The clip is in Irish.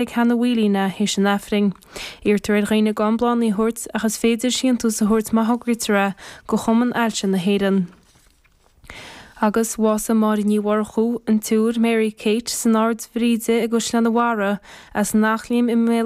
Ag Hannah Whelan théis an Aifrinn. Iarrtar ar dhaoine gan bláthanna a thabhairt ach is féidir síntiús a thabhairt má thograítear é go Chumann Ailse na hÉireann. Agus bhásaigh Máire Ní Mhurchú, an tSiúr Mary Kate, san Ard Bhríde i gCaisleán an Bharraigh, as an Eachléim i mBéal.